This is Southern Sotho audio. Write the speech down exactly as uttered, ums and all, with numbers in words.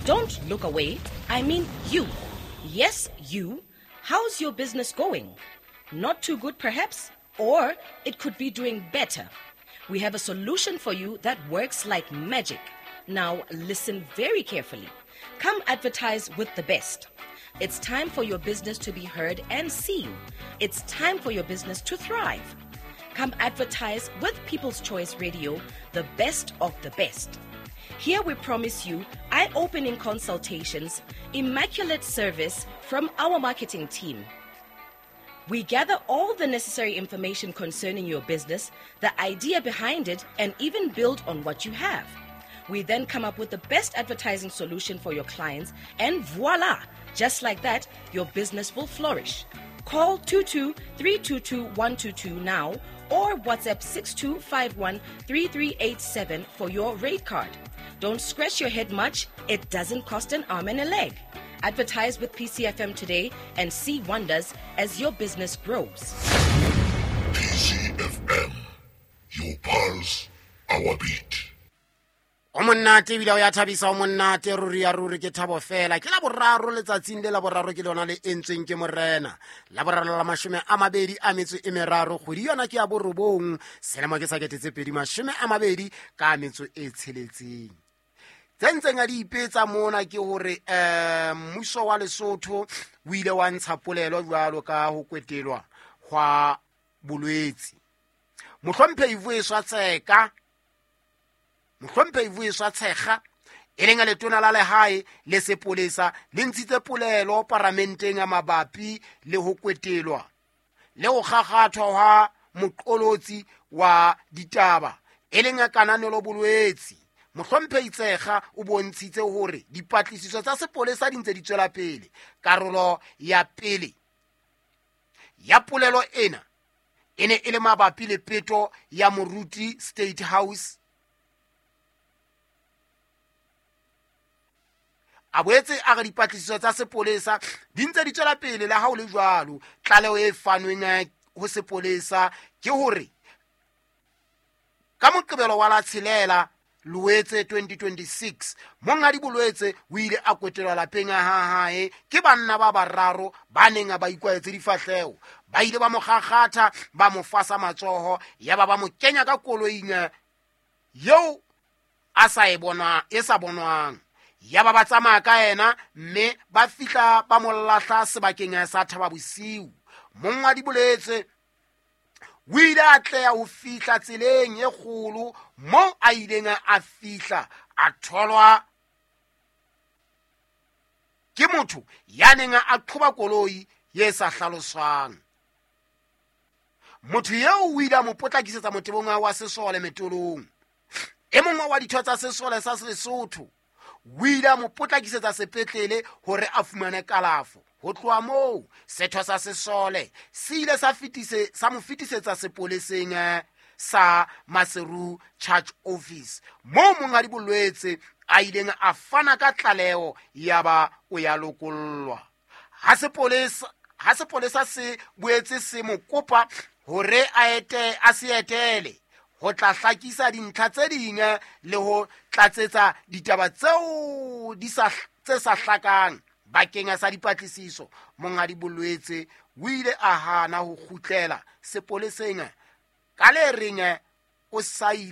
Don't look away. I mean you. Yes, you. How's your business going? Not too good, perhaps? Or it could be doing better. We have a solution for you that works like magic. Now, listen very carefully. Come advertise with the best. It's time for your business to be heard and seen. It's time for your business to thrive. Come advertise with People's Choice Radio, the best of the best. Here we promise you eye opening consultations, immaculate service from our marketing team. We gather all the necessary information concerning your business, the idea behind it, and even build on what you have. We then come up with the best advertising solution for your clients, and voila! Just like that, your business will flourish. Call two two three two two one two two now or WhatsApp six two five one three three eight seven for your rate card. Don't scratch your head much, it doesn't cost an arm and a leg. Advertise with P C F M today and see wonders as your business grows. P C F M, your pulse, our beat. O monnate ebile o ya thabisa, o monnate ruri ya ruri ke thabo fela. Ke la boraro letsatsing le la boraro ke lona le entsweng ke morena. La boraro la mashome a mabedi a metso e meraro, kgwedi yona ke ya borobong, selemo ke sa kete tse pedi mashome a mabedi ka metso e tsheletseng. Tse ntseng a di ipetsa mona ke hore, eh, mmuso wa Lesotho o ile wa ntsha polelo jwalo ka ho kwetelwa hwa bolwetse. Mohlomphehi Vuyiswa Tseka, Mohlomphehi Vuyiswa Tshekga, e leng letona la lehae le sepolesa, le ntshitse polelo paramenteng ya mabapi le ho kwetelwa le ho kgakgathwa hwa moqolotsi wa ditaba, e leng Kananelo Bolwetse. Mohlomphehi Tshekga o bontshitse hore dipatlisiso tsa sepolesa di ntse di tswela pele. Karolo ya pele ya polelo ena e ne e le mabapi le peto ya Moruti State House. A boetse a re dipatlisiso tsa sepolesa di ntse di tswela pele le ha ho le jwalo. Tlaleho e fanweng ho sepolesa ke hore ka Moqebelo wa la tshelela Loetse twenty twenty-six, monghadi Bolwetse o ile a kwetelwa lapeng ha hae ke banna ba bararo ba neng ba ikwaetse difahleho. Ba ile ba mo kgakgatha, ba mo fasa matsoho, ya ba ba mo kenya ka koloing eo a sa e bona, e sa bonwang. Ya ba ba tsamaya ka yena mme ba fihla ba mo lahla sebakeng sa Thaba Bosiu. Monghadi Bolwetse o ile a tleha ho fihla tseleng e kgolo moo a ileng a fihla a tholwa ke motho ya neng a qhoba koloi ye sa hlaloswang. Motho eo o ile a mo potlakisetsa motebong wa sesole metolong. E mongwe wa ditho tsa sesole sa Lesotho o ile a mo potlakisetsa sepetlele hore a fumane kalafo. Ho tloha moo, setho sa sesole se ile sa fetise, sa mo fetisetsa sepoleseng sa Maseru Charge Office, moo monghadi Bolwetse a ileng a fana ka tlaleho ya ba o ya lokollwa. Ha sepolesa, ha sepolesa se boetse se mo kopa hore a ete, a se etele ho tla hlakisa dintlha tse ding le ho tlatsetsa ditaba tseo di sa, tse sa hlakang bakeng sa dipatlisiso. Monghadi Bolwetse o ile a hana ho kgutlela sepoleseng ka le reng o sa ile